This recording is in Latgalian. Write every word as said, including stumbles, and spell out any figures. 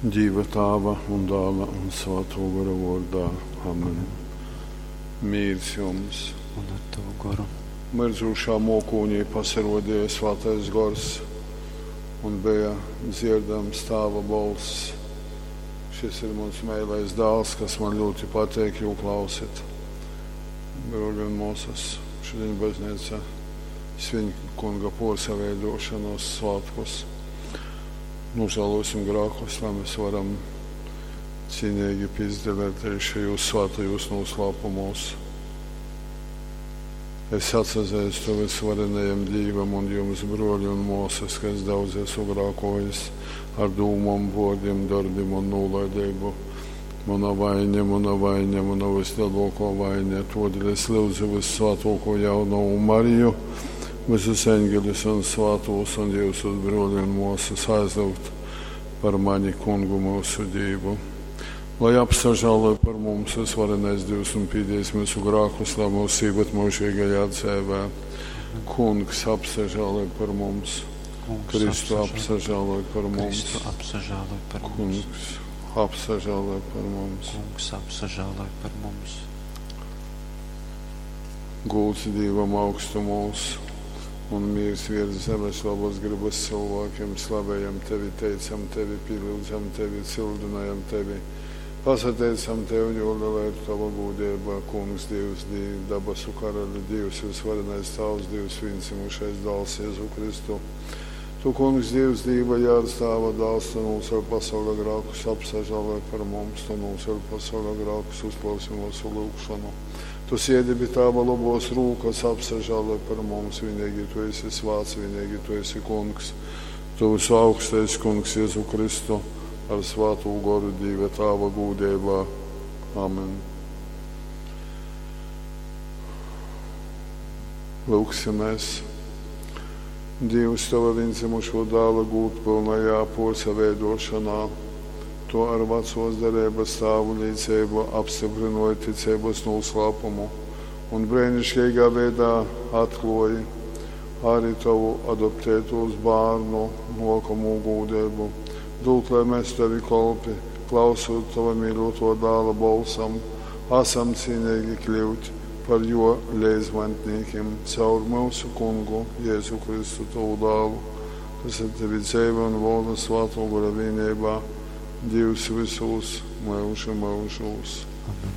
Dīva Tāva un Dāla un Svātō Gora vōrdā. Amen. Mīrs jums! Un ar tavu goru. Myrdzūšā mōkūnī pasarōdeja Svātais Gors un beja dzierdams Tāva bolss. Šis ir muns meilais dāls, kas man ļoti pateik, jū klausit. Brōļi un mōsas, šodien baznīca svin Kunga pōrsaveidošanos svētkus. Nožēlosim grēkus, lai mēs varam cīnīgi pizdalēt arī šajos svētajos noslēpumos. Es atsazīstu visvarenajam Dievam un jums, broļi un māsas, ka es daudz esmu grēkojis ar dūmām, vārdiem, darbiem un nolaidību. Mana vaina, mana vaina, mana vislielākā vaina. Todēļ es lūdzu vissvētāko jaunavu Mariju, visus eņģeļus un svētos un jūsus broļi un māsas aizlūgt par mani kungu mūsu Dievu. Lai apsažāloj par mums visvarenais Dievs un pīdīs mūsu grēkus, lai mūs īvet mūžīgajā dzīvē. Kungs apsažāloj par mums. Kungs, Kristu apsažāloj. apsažāloj par mums. Kristu apsažāloj par mums. Kungs apsažāloj par mums. Kungs apsažāloj par mums. Gūts Dievam augstumos un miers virs zemes labas gribas cilvēkiem. Slavējam tevi, teicam tevi, pielūdzam tevi, cildinājam tevi. Pasateicam tev, jo liela ir tava gūdība, Kungs, Dievs, Diev, dabasu karali, Dievs, visvarenais Tavs, Dievs, vienzimušais dāls Jēzu Kristu. Tu, Kungs, Dievs, Dieva jārds, Tava dāls, tu nocēl pasaules grēkus, apsažāloj par mums, tu nocēl pasaules grēkus, uzklausi mūsu lūgšanu. Tu sēdi pie Tava labos rūkas, apsažāloj par mums, vienīgi tu esi svāts, vienīgi tu esi Kungs. Tu visu augstais Kungs Jēzu Kristu ar svāto goru Dieva Tava gūdībā. Amen. Lūksimies. Dievs tava vienzimušo dāla gūtpilnajā porsaveidošanā, to ar vecos derības tēvu līdzību apstiprināja ticības noslēpumu un brīnišķīgā veidā atklāja arī tavu adoptētos bērnu nākamo gūdību. Dod, lai mēs tevi kolpi, klausot tava mīļoto dāla balsam, esam cienīgi kļūt par jo līdzmantniekiem caur mūsu kungu Jēzu Kristu tavu dālu, kas ar tevi dzīvo un valda svāto gara vienībā, Dievs visos mūžu mūžos. Amen.